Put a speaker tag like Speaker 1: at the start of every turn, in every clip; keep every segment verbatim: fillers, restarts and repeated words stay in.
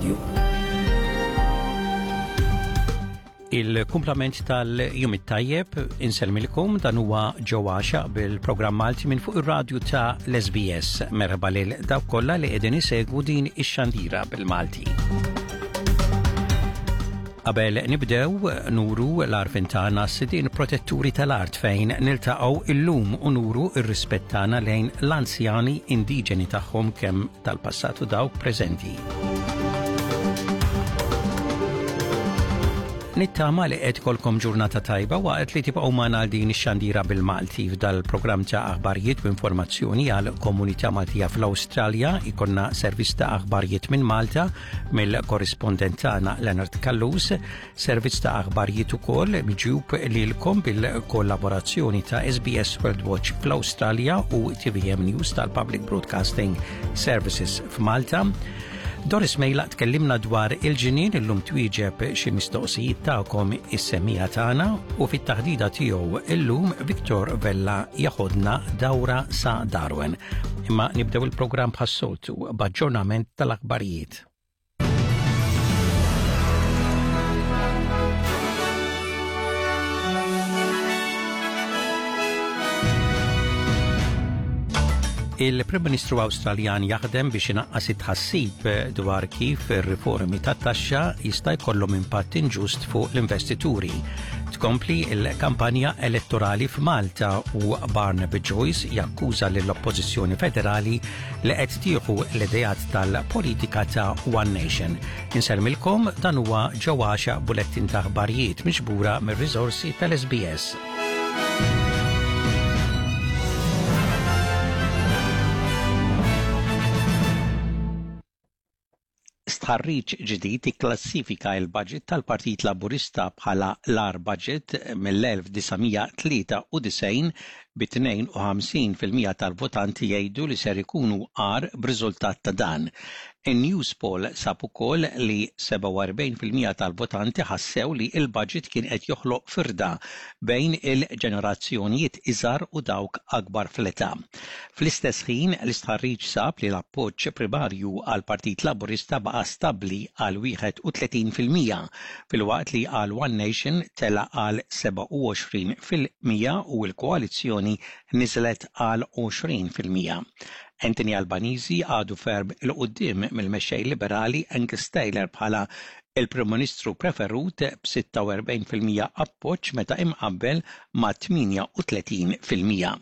Speaker 1: ir-radju.
Speaker 2: Il-kumplament tal-jum it-tajjeb insellmilkom, dan huwa Joe Axiaq bil-programm Malti minn fuq ir-radju ta' l-S B S. Merħba lil dawk kollha li qegħdin isegwu din ix-xandira bil-Malti. Qabel nibdew, nuru l-għarfien tagħna sidin protetturi tal-art fejn niltaqgħu illum u nuru ir-rispett tagħna lejn l-anzjani indiġeni tagħhom, kemm tal-passat u dawk preżenti. Nittama li qed ikollkom ġurnata tajba waqt li tibqgħu magħna għal din ix-xandira bil-Malti. F'dal-programm ta' aħbarijiet u informazzjoni għal komunità Maltija fl-Awstralja ikollna servizz ta' aħbarijiet minn Malta mill-korrispondent tagħna Leonard Callus, servizz ta' aħbarijiet ukoll miġjub lilkom bil-kollaborazzjoni ta' S B S World Watch fl-Awstralja u T V M News tal-Public Broadcasting Services f'Malta. Doris Mejla tkellimna dwar il-ġinien illum, twieġeb xi mistoqsijiet tagħkom is-semmiegħa tagħna, u fit-taħdida tiegħu illum Victor Vella jaħodna dawra sa Darwin. Imma nibdew il-programm bħas-soltu b'aġġornament tal-aħbarijiet. Il-Prim Ministru Awstraljan jaħdem biex inaqqas it-tħassib dwar kif ir-riformi tat-taxxa jista' jkollhom impatt inġust fuq l-investituri. Tkompli il-kampanja elettorali f'Malta u Barnaby Joyce jakkuża lill-Oppożizzjoni Federali li qed tieħu l-ideat tal-politika ta' One Nation. Insellmilkom, dan huwa Joe Axiaq, bulettin ta' aħbarijiet miġbura mir-riżorsi tal-S B S. Stħarriġ ġdid ikklassifika il-budget tal-Partit Laburista bħala l-agħar budget mill-elf disa' mija tlieta u disgħin, bi tnejn u ħamsin fil-mija tal-votanti jgħidu li ser ikunu agħar b'riżultat ta' dan. In-Newspoll sab ukoll li sebgħa u erbgħin fil-mija tal-votanti ħassew li il-budget kien qed joħloq firda bejn il-ġenerazzjonijiet iżgħar u dawk akbar fl-età. Fl-istess ħin, l-istħarriġ sab li l-appoġġ primarju għal Partit Laburista baqa' stabbli għal wieħed u tletin fil-mija, filwaqt li għal One Nation tela għal sebgħa u għoxrin fil-mija u l-koalizzjoni niżlet għal għoxrin fil-mija. Anthony Albanese għadu ferm 'il quddiem mill-mexxej liberali Angus Taylor bħala il-Prim Ministru preferut b'sitta u erbgħin fil-mija appoġġ meta imqabbel ma' tmienja u tletin fil-mija.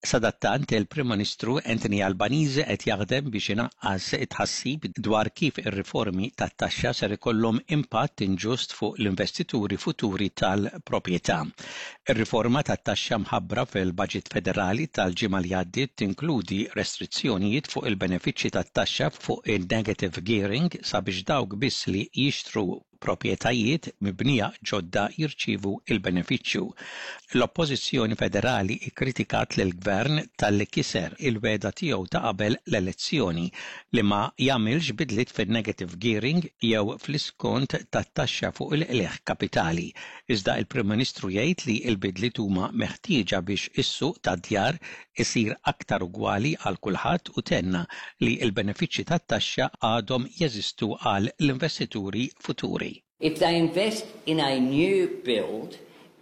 Speaker 2: Sadattant, il-Prim Ministru Anthony Albanese qed jaħdem biex inaqqas it-tħassib dwar kif ir-riformi tat-taxxa ser ikollhom impatt inġust fuq l-investituri futuri tal-proprjetà. Ir-riforma tat-taxxa mħabbra fil-Budget Federali tal-ġimgħa li għaddiet tinkludi restrizzjonijiet fuq il-benefiċċji tat-taxxa fuq il-negative gearing sabiex dawk biss li jixtru proprjetajiet mibnija ġodda jirċivu il-benefiċċju. L-Oppożizzjoni Federali ikkritikat lill-Gvern talli kiser il-wegħda tiegħu ta' qabel l-elezzjoni li ma jagħmilx bidliet fin-negative gearing jew fl-iskont tat-taxxa fuq il-qligħ kapitali. Iżda il-Prim Ministru jgħid li l-bidliet huma meħtieġa biex is-suq tad-djar isir aktar ugwali għal kulħadd u tenna li l-benefiċċji tat-taxxa għadhom jeżistu għal l-investituri futuri.
Speaker 3: If they invest in a new build,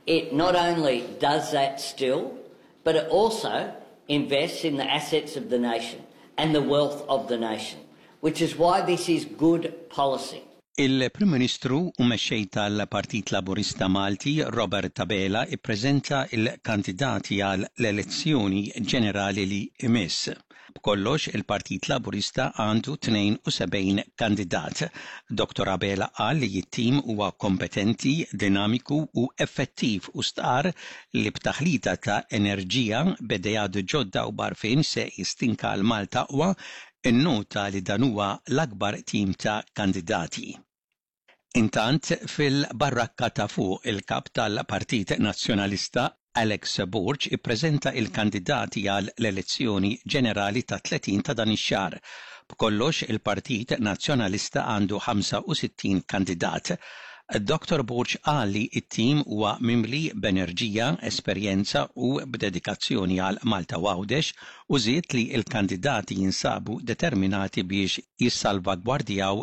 Speaker 3: it not only does that still, but it also invests in the assets of the nation and the wealth of the nation, which is why this is good policy.
Speaker 2: Il-Prim Ministru u mexxej tal-Partit Laburista Malti Robert Abela ippreżenta il-kandidati għal l-elezzjoni ġenerali li imiss. B'kollox, il-Partit Laburista għandu tnejn u sebgħin kandidat. Doktor Abela qal li t-tim huwa kompetenti, dinamiku u effettiv u stqar li b'taħlita ta' enerġija, b'ideat ġodda u b'għarfien se jistinka għal Malta aqwa. Innota li dan huwa l-akbar tim ta' kandidati. Intant, fil-barrakka ta' fuq, il-kap tal-Partit Nazzjonalista Alex Borg ippreżenta il-kandidati għal l-elezzjoni ġenerali ta' tletin ta' dan ix-xahar. B'kollox, il-Partit Nazzjonalista għandu ħamsa u sittin kandidat. Doktor Borg qal li it-tim huwa mimli b'enerġija, esperjenza u b'dedikazzjoni għal Malta u Għawdex u żied li l-kandidati jinsabu determinati biex jissalvagwardjaw